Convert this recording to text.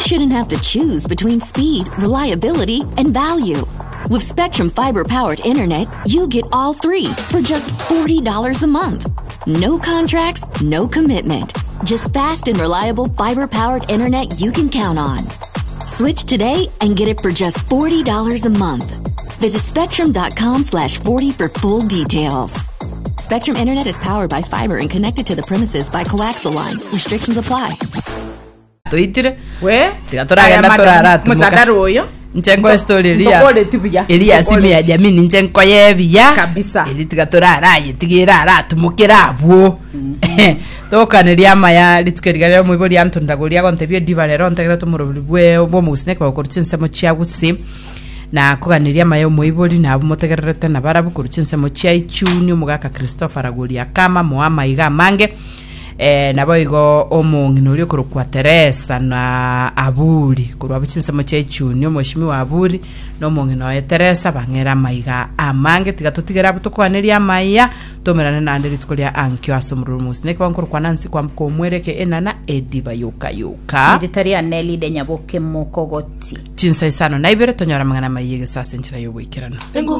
shouldn't have to choose between speed, reliability, and value. With Spectrum Fiber powered internet, you get all three for just $40 a month. No contracts, no commitment. Just fast and reliable fiber powered internet you can count on. Switch today and get it for just $40 a month. Visit spectrum.com slash 40 for full details. Spectrum Internet is powered by fiber and connected to the premises by coaxial lines. Restrictions apply. Toitire. We, Tiga toragenda aya madam, torara tumuka. Motandaro oyo. Inche nkoe story eria. Ntokoreti buya. Eria simu ya jamii ninche nkoye buya. Kabisa. Eri tiga torara aye tiga erara atumokere abwo. Tokaneria amaya rituko eriga rero omoibori antonda goria agontebia ediba rero ntegere tomorobori bwe bw'omogusii nekebao korwa chinsemo chia gusii na koganeria amaya omoibori na abwo motegererete nabarabwo korwa chinsemo chia ichuni omogaka Christopher Ragoria Kama moa amaiga amange Eh, naboigo omong'ina oria okorokwa Teresa na Aburi korwa abwo chinsemo chia Ichuni, omweshimiwa Aburi na omong'ina oye Teresa bang'ere amaiga amange. Tiga totigere abwo tokoanerie amaiya, tomerane naende rituko ria ankio ase omorero omogusi. Nekeba nkorokwa Nancy kwamboka omwereke enana ediba yoka yoka. Erieta riane rire Nyaboke Mokogoti. Chinsa isano na ibere tonyore amang'ana amaiya egesa ase enchera y'oboikeranu.